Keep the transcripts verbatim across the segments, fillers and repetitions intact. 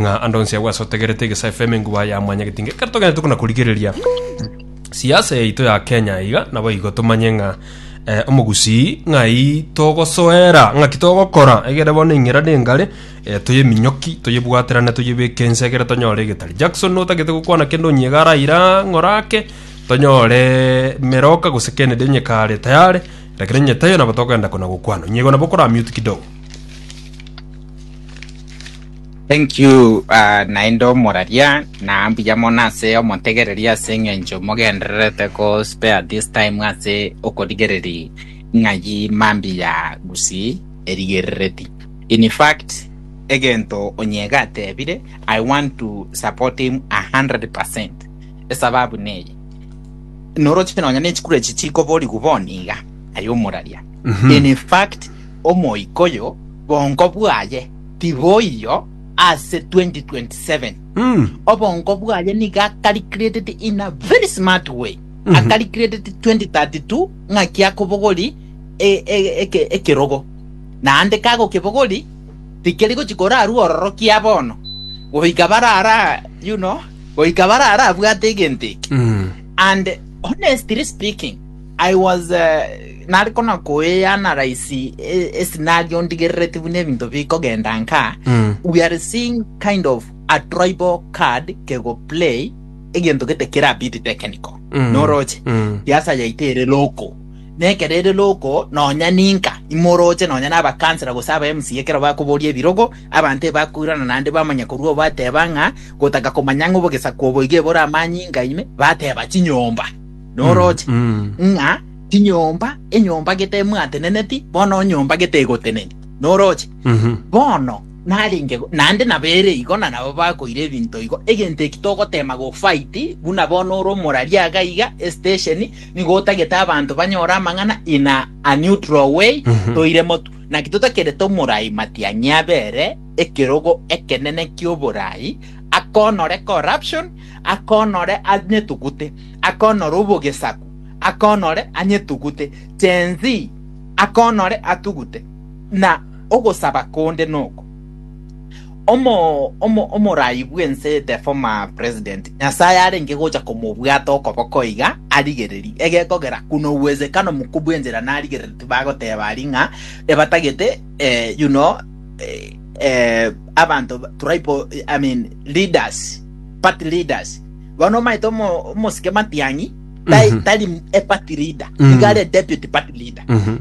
Ng'a ande onsi agwo ase otegerete Egesa F M enguba ya mwanyagetinga ekero togenderete kona korigereria siasa yaito ya Kenya iga nabo igo tomanye ng'a eh, omogusii ng'ai togosoera ng'aki togokora egere bono eng'era nengare eh, toyeminyoki toyebwaterane toyebeke ense egere tonyore egetari Jackson notagete gokwana kende onyega araira ng'ora ake tonyore Meroka gose Kennedy onye kare tayari lakini onye taiyo nabo tokogenda kona gokwana onyego nabo okora mute kidogo. Thank you uh, naende omoraria na mbuya mono ase omotegereria ase eng'encho mogendererete ko spare this time ase okorigereri ng'ayi mambi ya Gusii erigerereti. In fact, egento onyega atebire, I want to support him a hundred percent. Esababu neye, noroche nonya nechikuru echi chikoborigwa bono iga aye omoraria. In fact, omoikoyo bongo bwaye tiboiyo ase twenty twenty-seven. Mm. Obongo bwaye niga calculated in a very smart way. Mhm. Acalculated twenty thirty-two ng'aki akobogori e- e- eke- ekerogo. Naende kagokebogori tikeri gochikora arwo ororo kia bono. Goika barara, you know, goika barara abwate egento eke. Mm. And honestly speaking, I was uh, nari kona koe analyze e, e scenario ndigerereti buna ebinto bikogenda nka. Mm. We are seeing kind of a tribal card kego play egento gete kera bit technical. Mm. Noroche. Mm. Siasa yaito ere local. Nekero ere local nonya ninka imoroche nonya n'abakansela gose aba M C A ekero bakoboria ebirogo abanto ebakoirana naende bamanya korwa bateba ng'a gotaka komanya ng'a obogesa kwobo iga ebore amanyinga ime bateba chinyomba. Noroche. Mm. Ng'a chinyomba enyomba gete emwateneneti bono nyomba gete egoteneni. Noroche. Mhm. Bono narenge naende nabere igo na nabo bakoira ebinto igo egento eki togotema go fight buna bono ore omoraria iga iga estation nigo otagete abanto banyore amang'ana in a, a neutral way. Mhm. Toire motu naki totakerete omorai Matiang'i abere ekerogo ekenene ki'oborai akonore corruption akonore anyetugute akonore obogesaku akonore anyetugute Gen Z akonore atugute na ogosaba konde noko omo omo omorai bwense the former president Nyasaye arenge gocha komobwata okoboko iga arigereri egekogera kuna uwezekano mkubwa enchera narigereri tibagoteba ari ng'a ebatagete eh, you know eh, eh, abantu tribal, I mean, leaders, party leaders bono omaete omo omosike Matiang'i tari, Mhm. tari a party leader. Mm. Iga are deputy party leader. Mhm.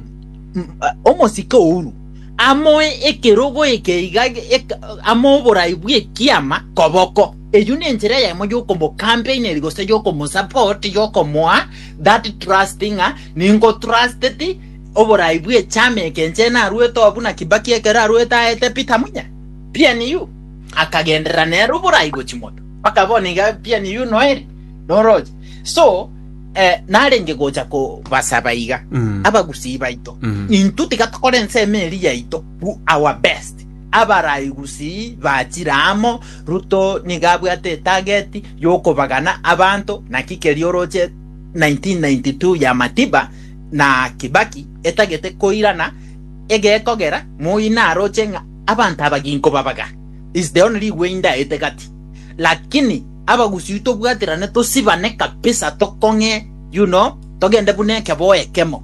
M- uh, omosike Uhuru amoe ekerogo eke iga eka- amo oborai bw'ekiama koboko eyu nenchera eyemo yokomocampaigneri gose yokomosupport yokomoa that trust ng'a ningo trusted oborai bw'echama eke nche narwete obu na Kibaki ekero arwete aete Peter Munya P N U akagenderera nere oborai gochi moto mpaka bono iga P N U noere noroche so eh, narenge gocha kobasaba iga Mm. abagusii baito. Mm. Intwe tiga tokore ensemo eri yaito do our best abarai gusii bachire amo Ruto niga abwate etarget yokobagana abanto naki keri oroche nineteen ninety-two ya Matiba na Kibaki etagete koirana egekogera moi naroche ng'a abanto abaginko babaga is the only way ndaete gati lakini abagusii tobwaterane tosibane kabisa tokong'e you know togende buna ekeboe ekemo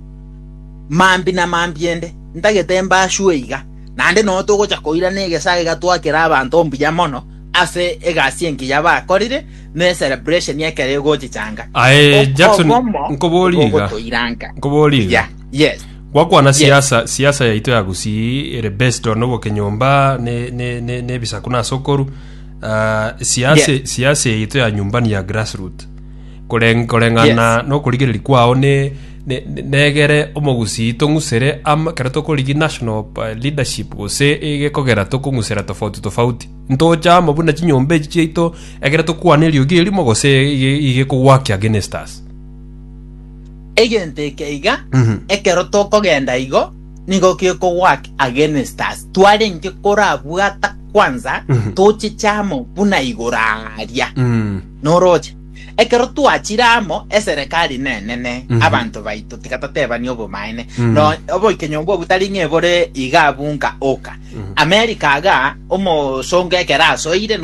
mambi na mambi ende ntagete mbashue iga naende no togocha koirana egesa iga twakera abanto mbuya mono ase egasi engiya bakorire ne celebration ekere egochichanga. Aye Jackson, Obomo nkobori iga. bogotoiranka. Nkobori iga. Yeah, yes. Gwakwana Yes. siasa siasa yaito ya Gusii ere based on obokenyomba ne ne ne nebisaku na sokoru uh, siasa. Yes. Siasa yaito ya nyumbani ya grassroot Koreng- koreng'ana Yes. nokorigereria kwao ne ne- ne- negere omogusii tong'usere ama kero tokorigi national uh, leadership gose egekogera tokong'usera tofauti tofauti ntocha amo buna chinyomba echi chiaito egere tokwana eriogi erimo gose ige- igekogwaki against us. Egento eke iga Mhm. ekero tokogenda igo nigo gekogwak against us twarenge korabwata kwanza Mhm. tochichamo buna igoro aria mm. noroche Ekero twachiramo eserekari nenene, Mhm. abanto baito tigatatebani obomaene. Mm. No oboikenyongo obutari ng'ebore iga bunka oka. Mhm. America aga omosongo ekero asoire no.